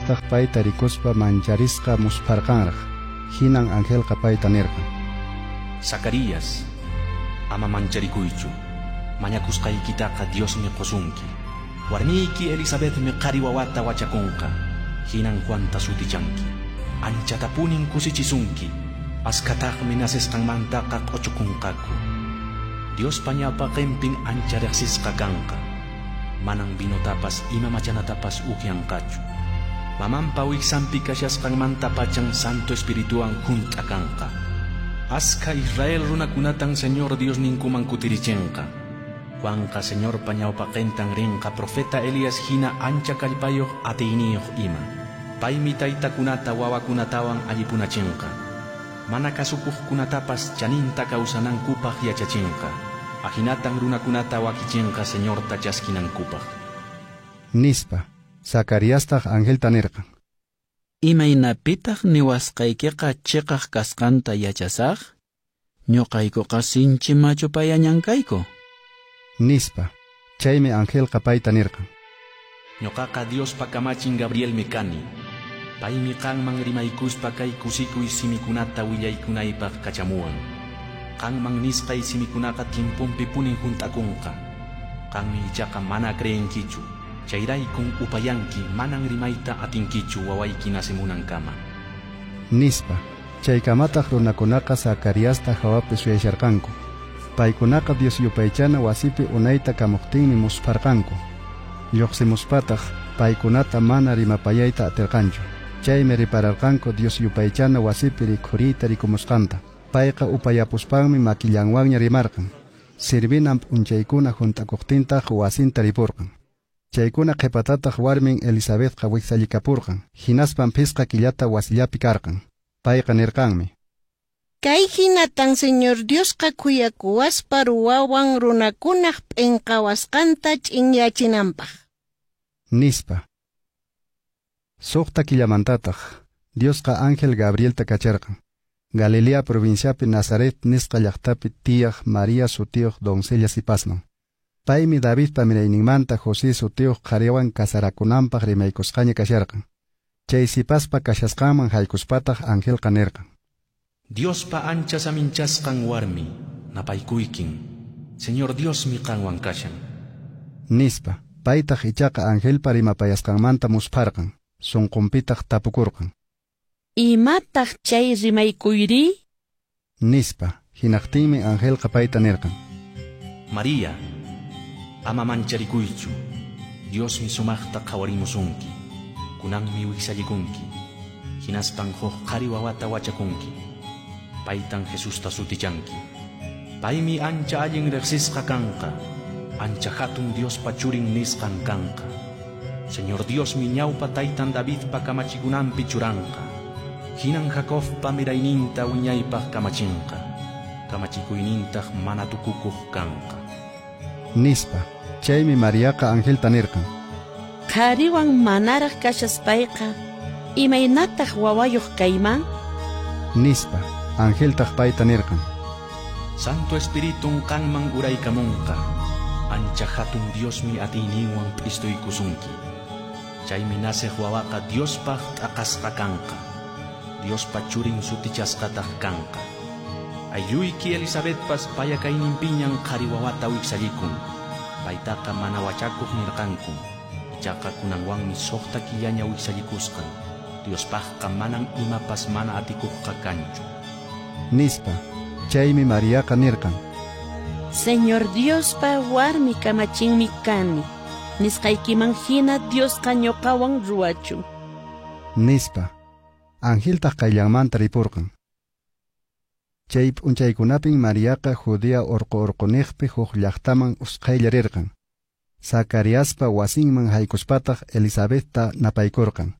Zacariastaq payta rikuspa mancharisqa muspharqanraq. Hinan angelqa payta nirqan: Zacarías, ama mancharikuychu. Mañakusqaykitaqa Diosmi qosunki. Warmiyki Elisabetmi qhari wawata wachakunqa. Hinan Juanta sutichanki. Anchatapunin kusichisunki. Askhataqmi nacesqanmantaqa q'ochukunqaku. Diospa ñawpaqenpin ancha riqsisqa kanqa. Manan vinotapas ima machanatapas upyanqachu. Mamanpa wiksanpi kashasqanmantapachan Santo Espirituwan hunt'a kanqa. Askha Israel runakunatan Señor Diosninkuman kutirichinqa. Juanqa Señorpa ñawpaqentan rinqa profeta Elías hina ancha kallpayoq atiyniyuq ima. Paymi taytakunata wawakunatawan allipunachinqa. Mana kasukuqkunatapas chaninta kawsanankupaq yachachinqa. Ahinatan runakunata wakichinqa Señorta chaskinankupaq. Nispa. Zacariastaq angelta nirqan: Imaynapitaq niwasqaykiqa chiqaq kasqanta yachasaq? Ñuqaykuqa sinchi machu payañan kayku. Nispa. Chaymi angelqa payta nirqan: Ñuqaqa Diospa kamachin Gabrielmi kani. Paymi qanman rimaykuspa kay kusikuy simikunata willaykunaypaq kachamuwan. Qanman nisqay simikunaqa tiemponpipunin hunt'akunqa. Qanmi ichaqa mana creenkichu. Chayraykun upayanki, manan rimayta atinkichu wawayki nacemunankama. Nispa. Chaykamataq runakunaqa Zacariasta hawapi suyasharqanku. Paykunaqa Dios yupaychana wasipi unayta kamuqtinmi muspharqanku. Lluqsimuspataq paykunata mana rimapayayta atirqanchu. Chaymi ripararqanku Dios yupaychana wasipi rikhuriyta rikumusqanta. Payqa upayapuspanmi makillanwanña rimarqan. Sirvinan p'unchaykuna hunt'akuqtintaq wasinta ripurqan. Chaykuna qhipatataq warmin Elisabetqa wiksallikapurqan. Hinaspan phisqa killata wasillapi karqan. Payqa nirqanmi: Kay hinatan Señor Diosqa khuyakuwaspa ruwawan runakunaq p'inqawasqanta ch'inyachinanpaq. Nispa. Suqta killamantataq Diosqa ángel Gabrielta kacharqan. Galilea provinciapi Nazaret nisqa llaqtapi tiyaq María sutiyuq doncella sipasman. Paymi Davidpa mirayninmanta José sutiyuq qhariwan casarakunanpaq rimaykusqaña kasharqan. Chay sipaspa kashasqanman haykuspataq angelqa nirqan: Diospa ancha saminchasqan warmi, napaykuykin. Señor Diosmi qanwan kashan. Nispa. Paytaq ichaqa angelpa rimapayasqanmanta muspharqan. Sunqunpitaq tapukurqan: Imataq chay rimaykuyri? Nispa. Hinaqtinmi angelqa payta nirqan: María, ama mancharikuychu. Diosmi sumaqta qhawarimusunki. Kunanmi wiksallikunki. Hinaspan huk qhari wawata wachakunki. Paytan Jesusta sutichanki. Paymi ancha allin riqsisqa kanqa. Ancha hatun Diospa churin nisqan kanqa. Señor Diosmi ñawpa taytan Davidpa kamachikunanpi churanqa. Hinan Jacobpa mirayninta wiñaypaq kamachinqa. Kamachikuynintaq mana tukukuq kanqa. Nispa. Chaymi Mariaqa angelta nirqan: Qhariwan manaraq kashaspayqa, imaynataq wawayuq kayman? Nispa. Angeltaq payta nirqan: Santo Espiritun qanman uraykamunqa. Ancha hatun Diosmi atiyninwan p'istuykusunki. Chaymi naceq wawaqa Diospaq t'aqasqa kanqa. Diospa churin sutichasqataq kanqa. Aylluyki Elisabetpas paya kayninpiñan qhari wawata wiksallikun. Paytaqa mana wachakuq nirqanku. Ichaqa kunanwanmi suqta killaña wiksallikusqan. Diospaqqa manan imapas mana atikuqqa kanchu. Nispa. Chaymi Mariaqa nirqan: Señor Diospa warmi kamachinmi kani. Nisqaykiman hina Diosqa ñuqawan ruwachun. Nispa. Angeltaq qayllanmanta ripurqan. Chay p'unchaykunapin Mariaqa Judea urqu urquniqpi huk llaqtaman usqhaylla rirqan. Zacariaspa wasinman haykuspataq Elisabetta napaykurqan.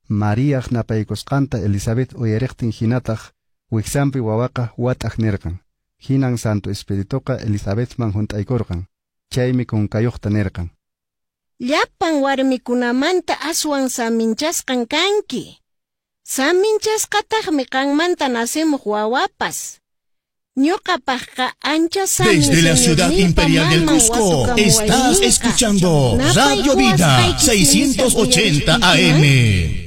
Mariaq napaykusqanta Elisabet uyariqtin hinataq wiksanpi wawaqa wat'aq nirqan. Hinan Santo Espirituqa Elisabetman hunt'aykurqan. Chaymi kunkayuqta nirqan: Llapan warmikunamanta aswan saminchasqan kanki. Saminchasqataqmi qanmanta nacemuq wawapas. Ñuqapaqqa ancha samin Desde la ciudad Señorninpa imperial del maman Cusco, estás watukamuwayninqa. escuchando Radio Vida Napaykuwasqayki simita 680 uyarichkankiman? AM.